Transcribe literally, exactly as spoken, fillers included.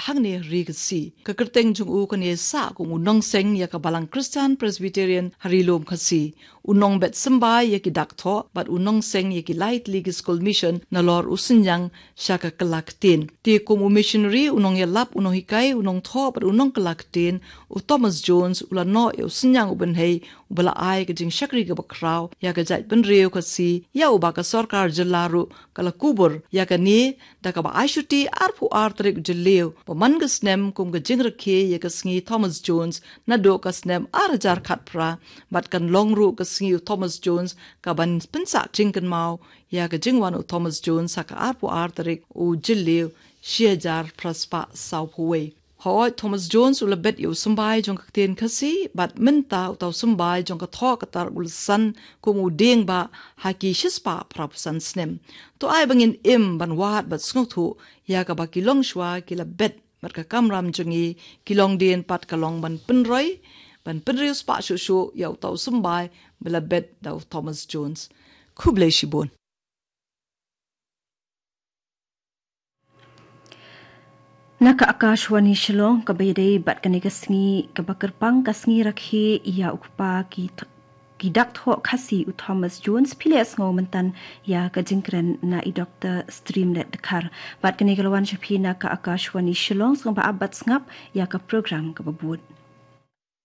hangne ha ri Khasi. Ka kyrteng jong u kan ïai sah kum u nongseng ïa ka Balang Khristan Presbyterian ha Ri Lum Khasi. U nongbet symbai ïa ki dak thoh bad u nongseng ïa ki lai tylli ki skul mission nalor u synñiang sha ka kylla ktien. Te kum u missionary, u nongïalap, u nonghikai, u nongthoh bad u nongkylla ktien, u Thomas Jones u la noh ïa u synñiang u bynhei uba la ai ka jingshakri kaba khraw ïa ka jaitbynriew Khasi, ïa uba ka sorkar jylla ruh ka la kubur ïa kane da kaba ai shuti arphew ar tarik Jylliew ba man ka snem kum ka jingrakhe ïa ka sngi Thomas Jones naduh ka snem ar hajar khatphra, bad kan long ruh ka sngi u Thomas Jones kaban pynsah jingkynmaw ïa ka jingwan u Thomas Jones ha ka arphew ar tarik u Jylliew shi hajar phra spah sawphew wei. Hooid, Thomas Jones u la bet ïa u symbai jong ka ktien Khasi, bad mynta uta u symbai jong ka thoh ka tar u la san kum u dieng bah ha ki shispah phraphew san snem. To ai ba ngin im ban wad bad sngewthuh ïa kaba ki longshuwa ki la bet, bad ka kamram jong ngi ki longdien pat ka long ban pynroi, ban pynriewspah shuh shuh ïa uta u symbai ba la bet da u Thomas Jones. Khublei shibun. Na ka Akashvani Shillong, kaba ïadei bad kane ka sngi kaba kyrpang, ka sngi rakhe ïa u kpa ki th-, ki dak thoh Khasi u Thomas Jones, phi la ïa sngew mynta ïa ka jingkren na i Doktor Streamlet Dkhar. Bad kane ka la wan sha phi na ka Akashvani Shillong, sngewbha ap bad sngap ïa ka program kaba bud.